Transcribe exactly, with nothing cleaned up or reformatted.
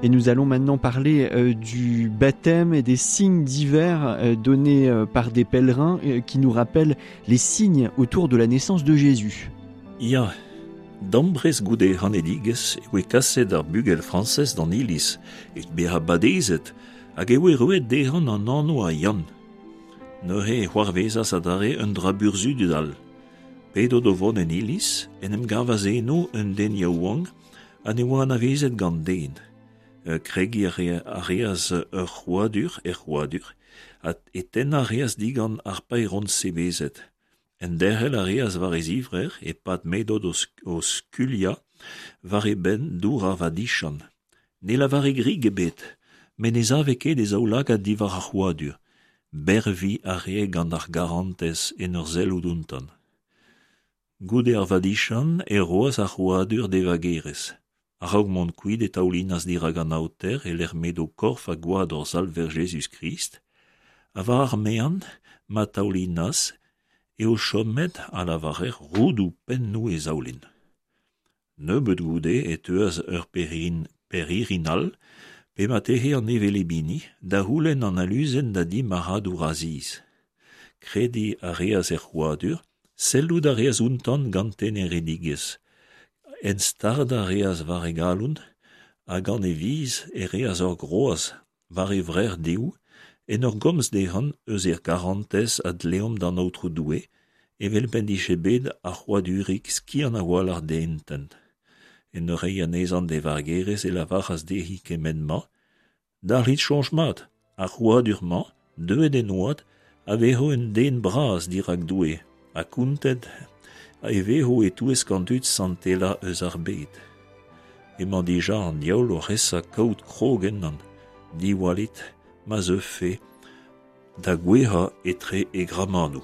Et nous allons maintenant parler euh, du baptême et des signes divers euh, donnés euh, par des pèlerins euh, qui nous rappellent les signes autour de la naissance de Jésus. Ya, dambrez goude ganedigezh e oe kaset ar bugel Frañsez d'an iliz evit bezañ badezet hag e oe roet dezhañ an anv a Yann. Neuze e c'hoarvezas adarre un dra burzhudus all. P'edod o vont en iliz, en em gavas eno un den yaouank ha ne oa anavezet gant den. Kregiñ a reas ur c'hrouadur er c'hrouadur, ha e tennañ a reas digant ar paeron sebezet. Enderc'hel a reas war e zivrec'h e-pad m'edod o skuilhañ war e benn dour ar vadiziant. Ne lavare grik ebet, met ne save ket e zaoulagad diwar ar c'hrouadur. Berviñ a rae gant ar garantez en ur sellout outañ. Goude ar vadiziant e roas ar c'hrouadur d'e vagerez. A-raok mont kuit e taoulinas dirak an aoter e-lec'h m'edo korf ha gwad hor Salver Jezuz-Krist, ha war ar maen ma taoulinas eo chomet a lavarer roudoù pennoù e zaoulin. Nebeut goude e teuas ur perin, pirc'hirin all, pe marteze an hevelep hini, da c'houlenn an aluzen da di marc'hadour Asiz. Krediñ a reas er c'hrouadur, sellout a reas outañ gant teneredigezh. En stardañ a reas war e galon, ha gant e viz e reas ur groaz war e vrec'h dehou, en ur gomz dezhañ eus er garantez a dleomp d'an Aotrou Doue, evel p'en dije bet ar c'hrouadurig skiant a-walc'h d'e intent. En ur reiñ anezhañ d'e vagerez e lavaras dezhi kement-mañ, dalc'hit soñj mat, ar c'hrouadur-mañ, deuet en oad, a vezo un den bras dirak Doue, ha kontet e vezo e-touesk an dud santelañ eus ar bed. Emañ dija an diaoul oc'h esa kaout krog ennañ, diwallit ma zeufe da gouezhañ etre e gramanoù.